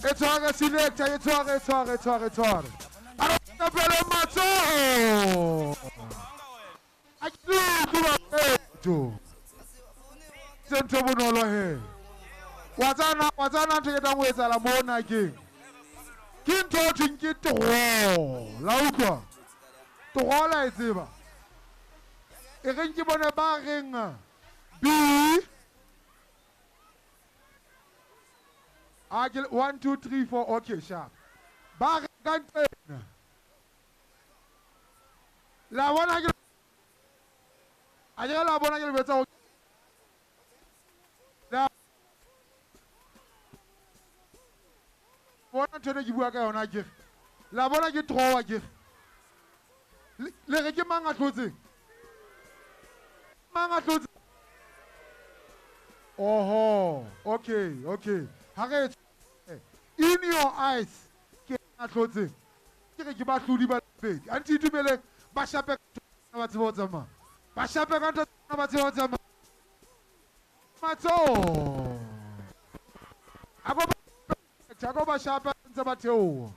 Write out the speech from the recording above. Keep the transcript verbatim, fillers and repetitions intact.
E tshware selector, e tshware, e tshware, e tshware, e tshware. A re tapele matsoho. A ke utlwe batho. Se ntho bonolo he. Wa tsana, wa tsana ntho e tlang ho etsahala mona keng? Ke ntho ho thweng ke draw. La utlwa? Draw la e tseba. E reng ke bone ba reng B. A ke one, two, three, four, okay, sharp. Ba reng ka nqena. La bona ke a ke la bona ke le betsa ho la bona ntho ene ke bua ka yona ke re. La bona ke draw ke re. Le re ke mang a hlotseng? Mang a hlotseng? Oho, okay, okay. Ha re in your eyes ke a hlotseng. Ke re ke bahlodi ba pedi. Anti itumele ba shape ba tsebe ho tsamaya. Ba shape ka ntho ba tsebe ho tsamaya. Matsoho. A ko ba a ko ba shape ntse ba theoha.